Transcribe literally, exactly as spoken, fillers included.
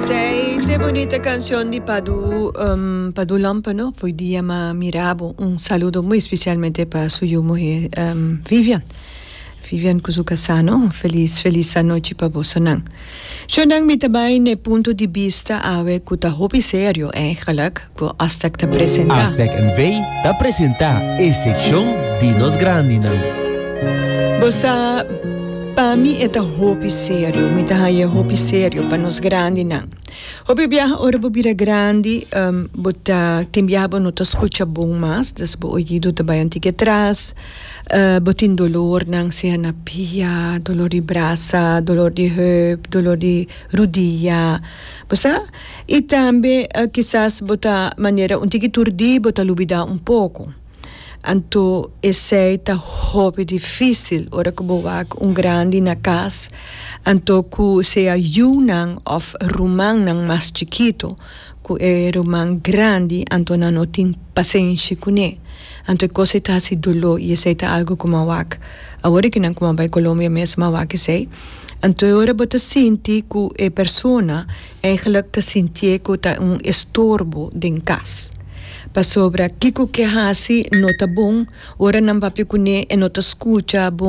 Esey ta bunita cancion di Padu, um, Padu Lampe, no? Foi dia m'a mira bo. Un saludo muy especialmente pa su muhe, um, Vivian. Vivian cu su casa, no? Feliz, feliz anochi pa boso nan. Shonan, mi tambe na Punto di Bista awe cu ta hopi serio eigenlijk, cu Astec ta presenta. Astec N V ta presenta e seccion di nos grandinan. Bo sa, pa mi e ta hopi serio, mi ta haya hopi serio pa nos grandinan. Hopi biaha ora bo bira grandi, um, bo ta tin biaha bo no ta scucha bon mas, dus bo oido ta bay un tiki atras, uh, bo tin dolornan, sea na pia, dolor di brasa, dolor di heup, dolor di rudia. Bo sa? Y tambe uh, kisas bo ta manera un tiki turdi, bo ta lubida un poco. Anto, esey ta hopi dificil ora cu bo wak un grandi na cas, anto cu sea yiunan of rumannan mas chikito, cu e ruman grandi, anto nan no tin pasenshi cune. Anto e cos ta haci dolor y esey ta algo cu m'a wak. Awor cu nan cu m'a bay Colombia mes m'a wak esey. Anto ora bo ta sinti cu e persona eigenlijk ta sinti cu ta un estorbo den cas. Pasobra kiko cu e haci no ta bon, ora nan papia cune e no ta scucha bon.